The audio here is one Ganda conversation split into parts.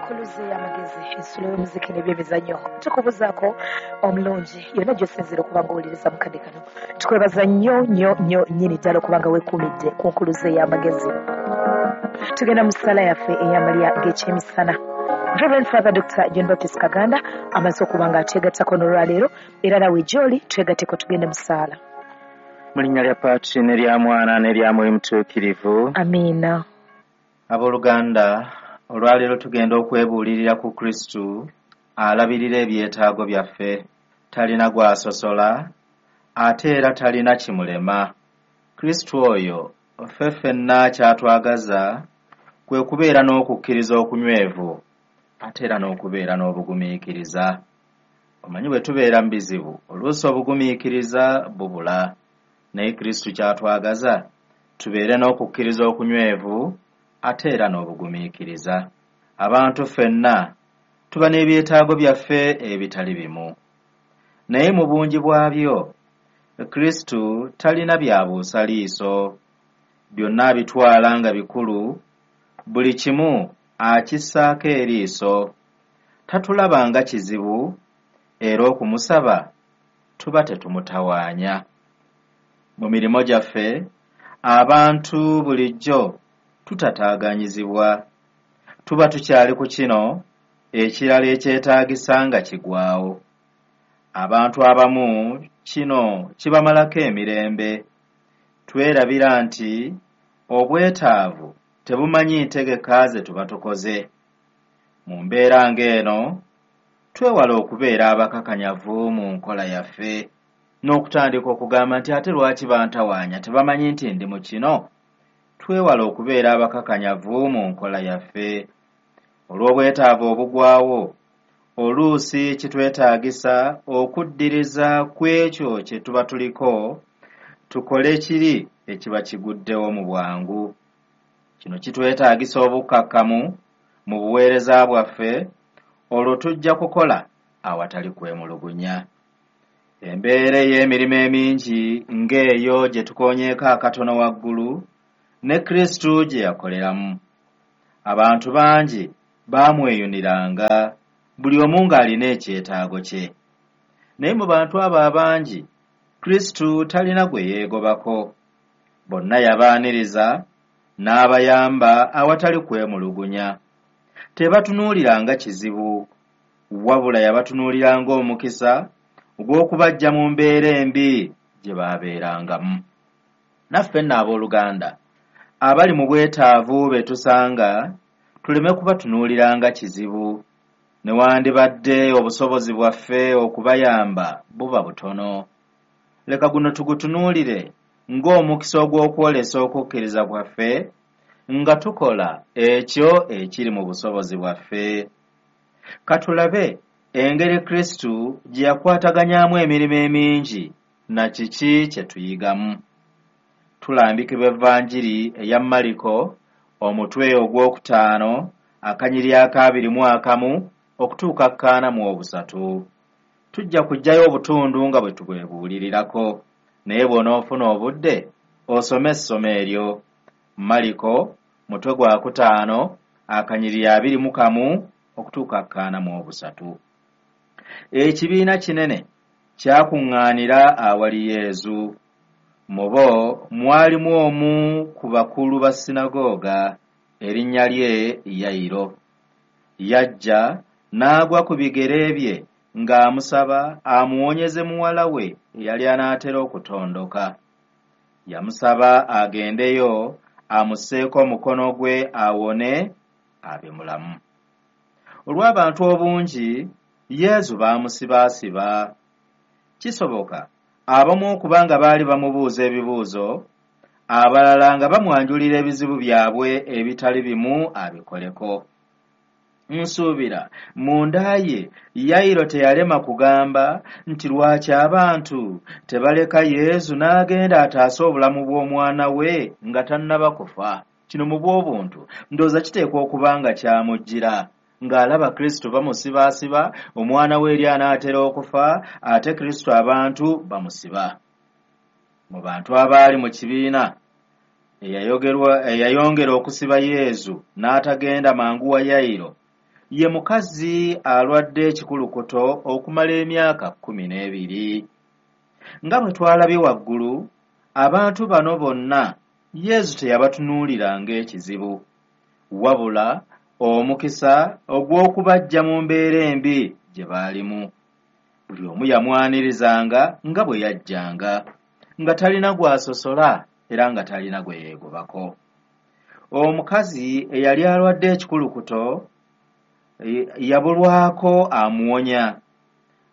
Enkuluze y'amagezi, ensulo y'omuziki n'ebyemizannyo. Tukubuzaako omulungi yonna gy'osinziira okuba nga owuliriza mu kadde kano. Tukwebaza nnyo nnyo nnyo nnyini ddala okuba nga weekuumidde ku nkuluze y'amagezi. Tugenda mu ssaala yaffe ey'amalya g'ekyemisana. Reverend Father Dr. John Baptist Kaganda amaze okuba nga atwegattako n'olwaleero, era nawe gy'oli twegatteko tugende mu ssaala. Mu linnya lya Patri n'erya Mwana n'erya Mwoyo Mutuukirivu. Amiina. Abooluganda, olwaleero tugenda okwebuulirira ku Kristu alabirira ebyetaago byaffe. Talina gw'asosola, ate era talina kimulema. Kristu oyo ffe ffenna ky'atwagaza kwe kubeera n'okukkiriza okunywevu, ate era n'okubeera n'obugumiikiriza. Omanyi bwe tubeera mu bizibu, oluusi obugumiikiriza bubula. Naye Kristu ky'atwagaza tubeere n'okukkiriza okunywevu ate era n'obugumiikiriza. Abantu ffenna tuba n'ebyetaago byaffe ebitali bimu. Naye mu bungi bwabyo, Kristu talina by'abuusa liiso. Byonna abitwala nga bikulu, buli kimu akissaako eriiso. Tatulaba nga kizibu, era okumusaba tuba tetumutawaanya. Mu mirimu gyaffe, abantu bulijjo tutataaganyizibwa. Tuba tukyali ku kino, ekirala ekyetaagisa nga kigwawo. Abantu abamu kino kibamalako emirembe. Twerabira nti obwetaavu tebumanyi ntegeka ze tuba tukoze. Mu mbeera ng'eno, twewala okubeera abakakanyavu mu nkola yaffe n'okutandika okugamba nti ate lwaki bantawaanya, tebamanyi nti ndi mu kino. Twewala okubeera abakakanyavu mu nkola yaffe. Olw'obwetaavu obugwawo, oluusi kitwetaagisa okuddiriza ku ekyo kye tuba tuliko, tukole kiri ekiba kiguddewo mu bwangu. Kino kitwetaagisa obukkakkamu mu buweereza bwaffe, olwo tujja kukola awatali kwemulugunya. Embeera ey'emirimu emingi ng'eyo gye tukoonyeeko akatono waggulu, ne Kristu gye yakoleramu. Abantu bangi baamweyuniranga, buli omu ng'alina ekyetaago kye. Naye mu bantu abo abangi, Kristu talina gwe yeegobako. Bonna yabaaniriza n'abayamba awatali kwemulugunya. Tebatunuuliranga kizibu, wabula yabatunuuliranga omukisa ogw'okubaggya mu mbeera embi gye baabeerangamu. Naffe nno abooluganda, abali mu bwetaavu be tusanga, tuleme kubatunuuliranga kizibu. Newandibadde obusobozi bwaffe okubayamba buba butono. Leka guno tugutunuulire ng'omukisa ogw'okwolesa okukkiriza kwaffe nga tukola ekyo ekiri mu busobozi bwaffe. Katulabe engeri Kristu gye yakwataganyaamu emirimu emingi na kiki kye tuyigamu. Tulambikibwa Evanjiri eya Mariko omutwe ogwokutaano akanyiri akaabiri mu akamu okutuuka kkaana mu obusatu. Tujja kuggyayo obutundu nga bwe tubwebuulirirako, naye bw'onoofuna obudde osome essomo eryo. Mariko mutwe gwakutaano akanyiri abiri mu kamu okutuuka kkaana mu obusatu. Ekibiina kinene kyakuŋŋaanira awali Yezu. Mu bo mwalimu omu ku bakulu ba sinagooga, erinnya lye Yayiro. Yajja n'agwa ku bigere bye ng'amusaba amuwonyeze muwala we eyali anaatera okutondoka. Yamusaba agendeyo amusseeko omukono gwe awone abe mulamu. Olw'abantu obungi, Yezu baamusibaasiba. Kisoboka abamu okuba nga baali bamubuuza ebibuuzo, abalala nga bamwanjulira ebizibu byabwe ebitali bimu abikoleko. Nsuubira munda ye Yayiro teyalema kugamba nti lwaki abantu tebaleka Yezu n'agenda ataase obulamu bw'omwana we nga tannaba kufa. Kino mu bw'obuntu ndowooza kiteekwa okuba nga kyamujjira ng'alaba Kristo bamusibaasiba, omwana we eri anaatera okufa, ate Kristo abantu bamusiba. Mu bantu abaali mu kibiina eyayongera okusiba Yezu n'atagenda mangu wa Yayiro, ye mukazi alwadde ekikulukuto okumala emyaka 12. Nga bwe twalabye waggulu, abantu bano bonna Yezu teyabatunuulira ng'ekizibu, wabula omukisa ogw'okubaggya mu mbeera embi gye baalimu. Buli omu yamwanirizanga nga bwe yajjanga, nga talina gw'asosola era nga talina gwe yeegobako. Omukazi eyali alwadde ekikulukuto yabulwako amuwonya.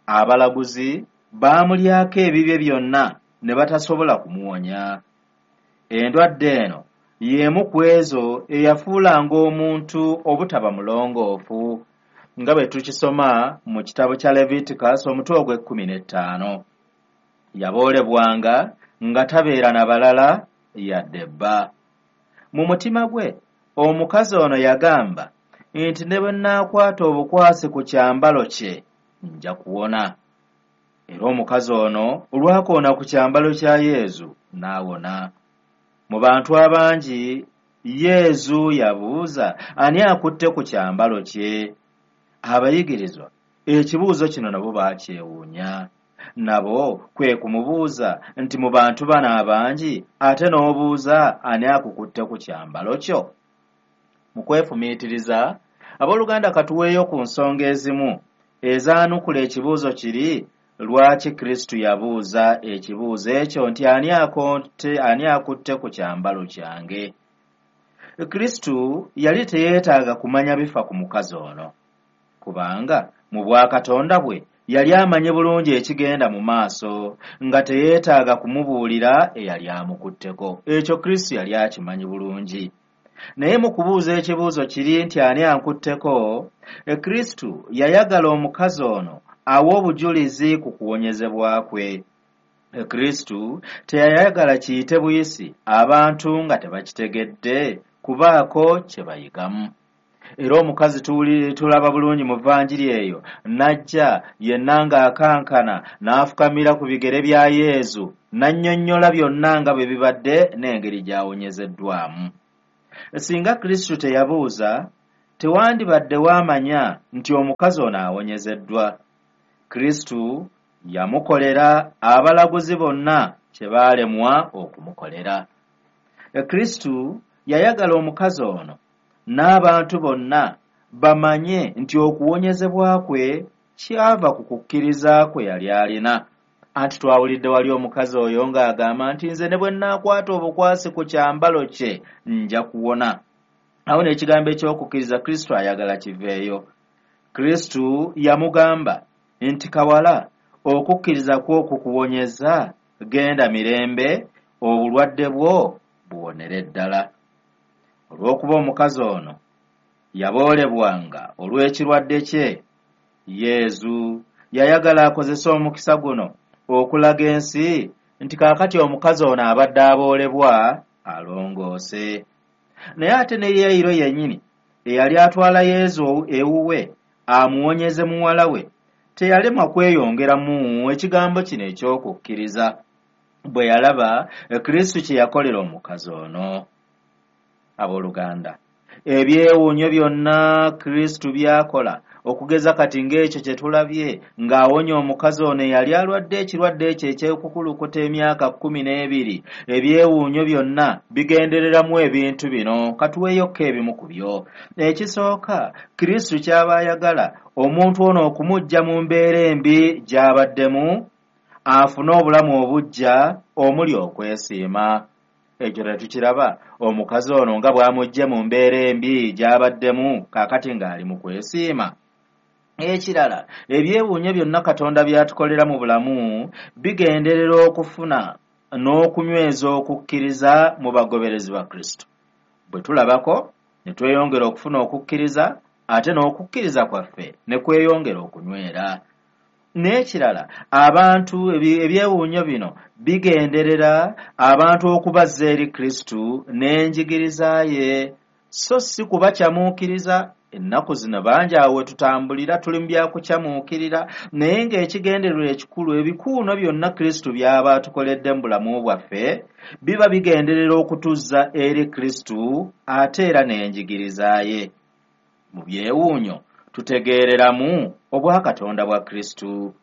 Abalaguzi baamulyako ebibye byonna ne batasobola kumuwonya. Endwadde eno y'emu ku ezo eyafuulanga omuntu obutaba mulongoofu, nga bwe tukisoma mu kitabo kya Leviticus omutwe ogw'e15. Yaboolebwanga nga tabeera na balala yadde bba. Mu mutima gwe omukazi ono yagamba nti ne bwe nnaakwata obukwasi ku kyambalo kye nja kuwona. Era omukazi ono olwakoona ku kyambalo kya Yezu n'awona. Mu bantu abangi Yezu yabuuza ani akutte ku kyambalo kye. Abayigirizwa ekibuuzo kino nabo baakyewuunya. Nabo kwe kumubuuza nti mu bantu bano abangi ate n'obuuza ani akukutte ku kyambalo kyo. Mu kwefumiitiriza, abooluganda katuweeyo ku nsonga ezimu ezaanukula ekibuuzo kiri lwaki Kristu yabuuza ekibuuzo ekyo nti ani akutte ku kyambalo kyange. Kristu yali teyeetaaga kumanya bifa ku mukazi ono, kubanga mu bwakatonda bwe yali amanyi bulungi ekigenda mu maaso, nga teyeetaaga kumubuulira eyali amukutteko. Ekyo Kristu yali akimanyi bulungi. Naye mu kubuuza ekibuuzo kiri nti ani ankutteko, Kristu yayagala omukazi ono awe obujulizi ku kuwonyezebwa kwe. Kristu teyayagala kiyite buyisi abantu nga tebakitegedde kubaako kye bayigamu. Era omukazi tulaba bulungi mu vanjiri eyo n'ajja yenna ng'akankana n'afukamira ku bigere bya Yezu n'annyonnyola byonna nga bwe bibadde n'engeri gy'awonyezeddwamu. Singa Kristu teyabuuza, tewandibadde waamanya nti omukazi ono awonyezeddwa. Kristu yamukolera abalaguzi bonna kye baalemwa okumukolera. Kristu yayagala omukazi ono n'abantu bonna bamanye nti okuwonyezebwa kwe kyava ku kukkiriza kwe yali alina. Anti twawulidde wali omukazi oyo ng'agamba nti nze ne bwe nnaakwata obukwasi ku kyambalo kye nja kuwona. Awo n'ekigambo eky'okukkiriza Kristu ayagala kiveeyo. Kristu yamugamba nti kawala, okukkiriza kwo kukuwonyeza, genda mirembe, obulwadde bwo buwonere ddala. Olw'okuba omukazi ono yaboolebwanga olw'ekirwadde kye, Yezu yayagala akozese omukisa guno okulaga ensi nti kaakati omukazi ono abadde aboolebwa alongoose. Naye ate ne Yayiro yennyini eyali atwala Yezu ewuwe amuwonyeze muwala we teyalemwa kweyongeramu ekigambo kino eky'okukkiriza bwe yalaba Kristu kye yakolera omukazi ono. Abooluganda, ebyewuunyo byonna Kristu by'akola okugeza kati ng'ekyo kye tulabye ng'awonya omukazi ono eyali alwadde ekirwadde ekyo eky'okukulukuta emyaka 12, ebyewuunyo byonna bigendereramu ebintu bino. Katuweeyokko ebimu ku byo. Ekisooka, Kristu ky'aba ayagala omuntu ono okumuggya mu mbeera embi gy'abaddemu afune obulamu obuggya omuli okwesiima. Ekyo tetukiraba omukazi ono nga bw'amuggye mu mbeera embi gy'abaddemu kaakati ng'ali mu kwesiima. Ekirala, ebyewuunyo byonna Katonda by'atukolera mu bulamu bigenderera okufuna n'okunyweza okukkiriza mu bagoberezi ba Kristo. Bwe tulabako ne tweyongera okufuna okukkiriza, ate n'okukkiriza kwaffe ne kweyongera okunywera. N'ekirala, abantu ebyewuunyo bino bigenderera abantu okubazza eri Kristo n'enjigiriza ye, so si kubakyamuukiriza. Ennaku zino bangi awo we tutambulira tuli mu byakukyamuukirira, naye ng'ekigendererwa ekikulu ebikuuno byonna Kristo by'aba atukoledde mu bulamu bwaffe biba bigenderera okutuzza eri Kristo ate era n'enjigiriza ye. Mu byewuunyo Tutegeereramu obwakatonda bwa Kristo.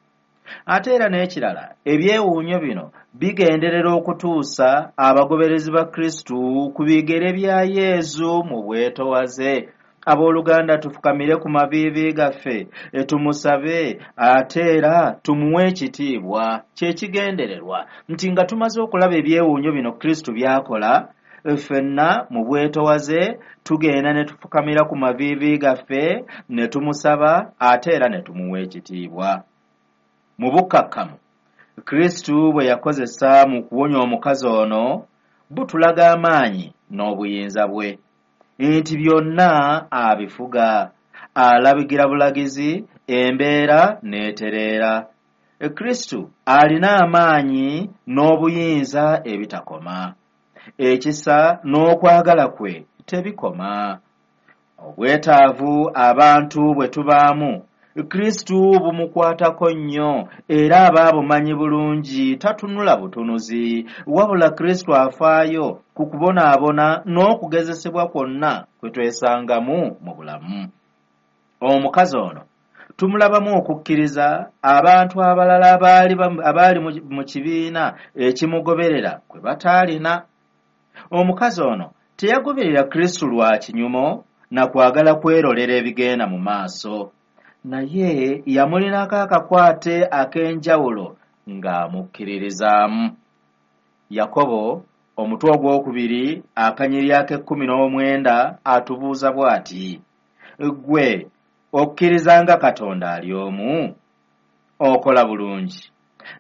Ate era n'ekirala, ebyewuunyo bino bigenderera okutuusa abagoberezi ba Kristo ku bigere bya Yezu mu bwetowaze. Abooluganda, tufukamire ku maviivi gaffe, tumusabe ate era tumuwe ekitiibwa. Kyekigendererwa nti nga tumaze okulaba ebyewuunyo bino Kristo by'akola, ffenna mu bwetowaze tugenda ne tufukamira ku maviivi gaffe ne tumusaba ate era ne tumuwa ekitiibwa. Mu bukkakkamu Kristo bwe yakozesa mu kuwonya omukazi ono butulaga amaanyi n'obuyinza bwe, nti byonna abifuga, alabigira bulagizi, embeera n'etereera. Kristo alina amaanyi n'obuyinza ebitakoma. Ekisa n'okwagala kwe tebikoma. Obwetaavu abantu bwe tubaamu Kristo bumukwatako nnyo, era aba abumanyi bulungi, tatunula butunuzi, wabula Kristo afaayo ku kubonaabona n'okugezesebwa kwonna kwe twesangamu mu bulamu. Omukazi ono tumulabamu okukkiriza abantu abalala abaali mu kibiina ekimugoberera kwe bataalina. Omukazi ono teyagoberera Kristo lwa kinyumo na kwagala kwerolera ebigenda mu maaso, naye yamulinako akakwate ak'enjawulo ng'amukkiririzaamu. Yakobo omutwe ogwokubiri akanyiriri ak'e19 atubuuza bw'ati: ggwe okkiriza nga Katonda ali omu? Okola bulungi.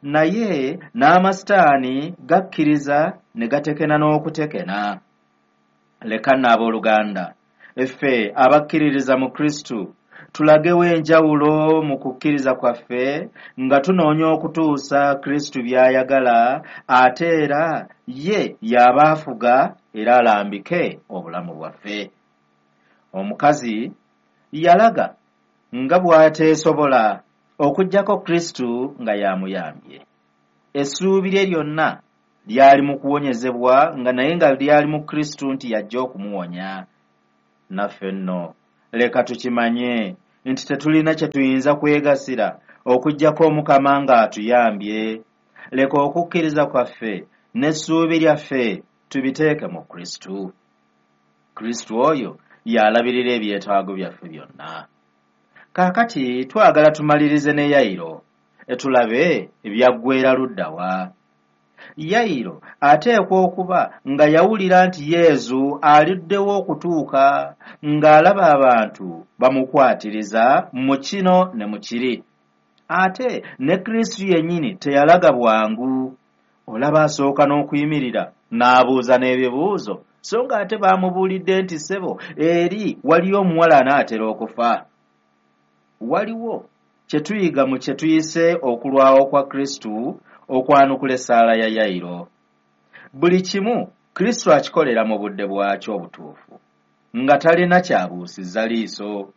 Naye n'amasitaani gakkiriza ne gatekena n'okutekena. Leka nno abooluganda, ffe abakkiririza mu Kristo tulagewo enjawulo mu kukkiriza kwaffe nga tunoonya okutuusa Kristo by'ayagala, ate era ye y'aba afuga era alambike obulamu bwaffe. Omukazi yalaga nga bw'ateesobola okuggyako Kristo nga y'amuyambye. Essuubi lye lyonna lyali mu kuwonyezebwa, nga naye nga lyali mu Kristo nti yajja okumuwonya. Naffe nno leka tukimanye nti tetulina kye tuyinza kwegasira okuggyako Omukama ng'atuyambye. Leka okukkiriza kwaffe n'essuubi lyaffe tubiteeke mu Kristo. Kristo oyo y'alabirira ebyetaago byaffe byonna. Kaakati twagala tumalirize ne Yayiro, tulabe ebyaggweera ludda wa. Yayiro ateekwa okuba nga yawulira nti Yezu aluddewo okutuuka, ng'alaba abantu bamukwatiriza mu kino ne mu kiri. Ate ne Kristo yennyini teyalaga bwangu. Olaba asooka n'okuyimirira n'abuuza n'ebibuuzo, so ng'ate baamubuulidde nti ssebo eri waliyo omuwala anaatera okufa. Waliwo kye tuyiga mu kye tuyise okulwawo kwa Kristo okwanukula essaala ya Yayiro. Buli kimu Kristo akikolera mu budde bwakyo obutuufu, nga talina kyabuusizza liiso.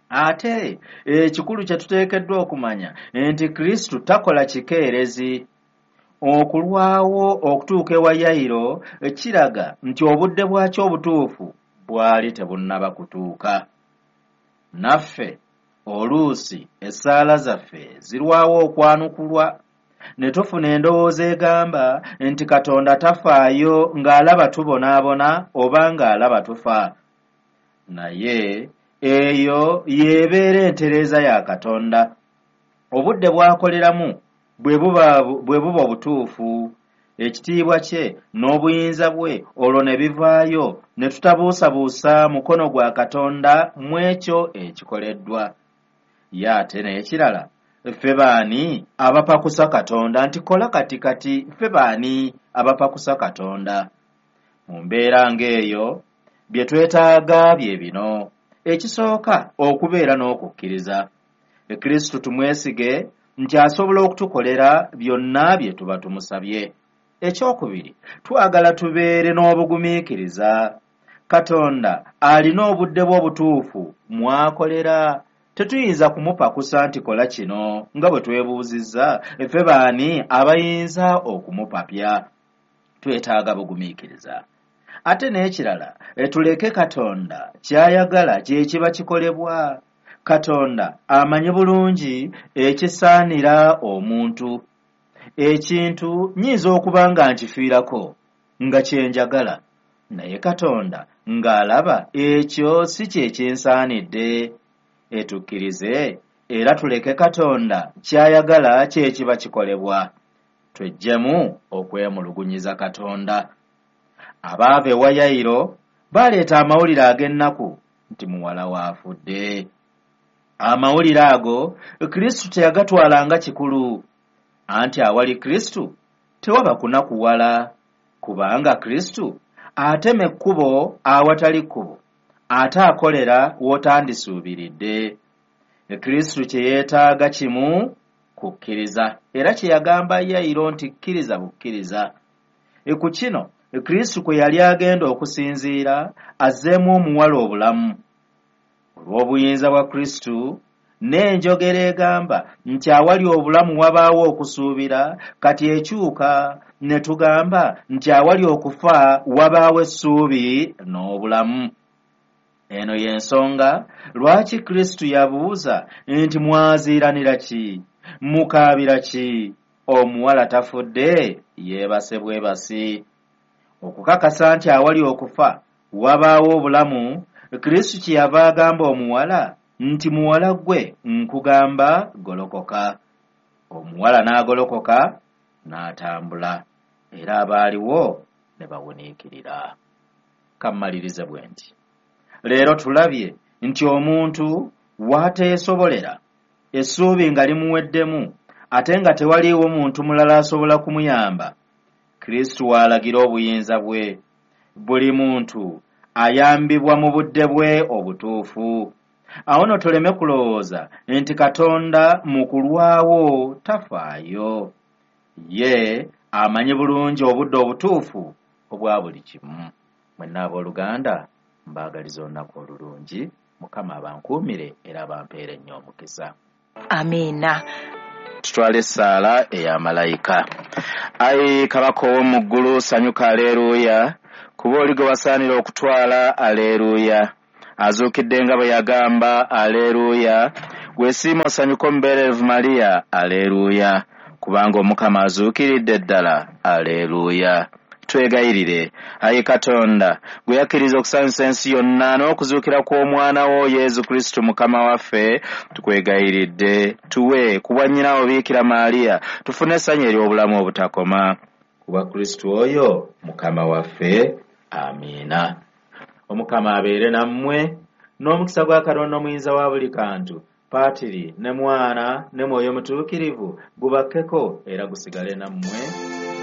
Ate ekikulu kye tuteekeddwa okumanya nti Kristo takola kikeerezi. Okulwawo okutuuka ewa Yayiro kiraga nti obudde bwakyo obutuufu bwali tebunnaba kutuuka. Naffe oluusi essaala zaffe zirwawo okwanukulwa, ne tufuna endowooza egamba nti Katonda tafaayo ng'alaba tubonaabona oba ng'alaba tufa. Naye eyo y'ebeera entereeza ya Katonda. Obudde bw'akoleramu bwe buba obutuufu, ekitiibwa kye n'obuyinza bwe olwo ne bivaayo, ne tutabuusabuusa mukono gwa Katonda mu ekyo ekikoleddwa. Ye ate n'ekirala, ffe baani abapakusa Katonda nti kola kati kati? Ffe baani abapakusa Katonda? Mu mbeera ng'eyo bye twetaaga bye bino: ekisooka, okubeera n'okukkiriza. Kristo tumwesige nti asobola okutukolera byonna bye tuba tumusabye. Ekyokubiri, twagala tubeere n'obugumiikiriza. Katonda alina obudde bwe obutuufu mw'akolera. Tetuyinza kumupakusa nti kola kino, nga bwe twebuuzizza ffe baani abayinza okumupapya. Twetaaga bugumiikiriza. Ate n'ekirala, tuleke Katonda ky'ayagala kye kiba kikolebwa. Katonda amanyi bulungi ekisaanira omuntu. Ekintu nnyinza okuba nga nkifiirako nga kye njagala, naye Katonda ng'alaba ekyo si kye kinsaanidde. Etukkirize era tuleke Katonda ky'ayagala kye kiba kikolebwa. Tweggyemu okwemulugunyiza Katonda. Abaava ewa Yayiro baleeta amawulire ag'ennaku nti muwala we afudde. Amawulire ago Kristo teyagatwala nga kikulu, anti awali Kristo tewaba kunakuwala, kubanga Kristo atema ekkubo awatali kkubo, ate akolera w'otandisuubiridde. Kristo kye yeetaaga kimu kukkiriza, era kye yagamba Yayiro nti kkiriza bukkiriza. Ku kino Kristo kwe yali agenda okusinziira azzeemu omuwala obulamu. Olw'obuyinza bwa Kristo n'enjogera egamba nti awali obulamu wabaawo okusuubira, kati ekyuka ne tugamba nti awali okufa wabaawo essuubi n'obulamu. Eno y'ensonga lwaki Kristo yabuuza nti mwaziiranira ki? Mukaabira ki? Omuwala tafudde, yeebase bwebasi. Okukakasa nti awali okufa wabaawo obulamu, Kristo kyeyava agamba omuwala nti muwala ggwe nkugamba golokoka. Omuwala n'agolokoka n'atambula, era abaaliwo ne bawuniikirira. Kammalirize bwe nti leero tulabye nti omuntu w'ateesobolera, essuubi nga limuweddemu, ate nga tewaliiwo muntu mulala asobola kumuyamba, Kristo w'alagira obuyinza bwe. Buli muntu ayambibwa mu budde bwe obutuufu. Awo nno tuleme kulowooza nti Katonda mu kulwawo tafaayo. Ye amanyi bulungi obudde obutuufu obwa buli kimu. Mwenna abooluganda mbaagaliza olunaku olulungi. Mukama abankuumire era abampeere nnyo omukisa. Amiina. Tutwale essaala eya malayika. Ayi Kabaka ow'omu ggulu, sanyuka, aleeruuya, kuba oli gwe wasaanira okutwala, aleeruuya. Azuukidde nga bwe yagamba, aleeruuya. Weesiima osanyuke omubeererevu Mariya, aleeruuya, kubanga Omukama azuukiridde ddala, aleeruuya. Twegayirire, ayi Katonda, gwe yakkiriza okusanyusa ensi yonna n'okuzuukira kw'Omwana wo Yesu Kristo Mukama waffe, tukwegayiridde tuwe ku bwa nnyina wo Biikira Maaliya tufune essanyu ery'obulamu obutakoma. Ku bwa Kristo oyo Mukama waffe, amiina. Omukama abeere nammwe, n'omukisa gwa Katonda omuyinza wa buli kantu, Paatiri ne Mwana ne Mwoyo Mutuukirivu gubakkeko era gusigale nammwe.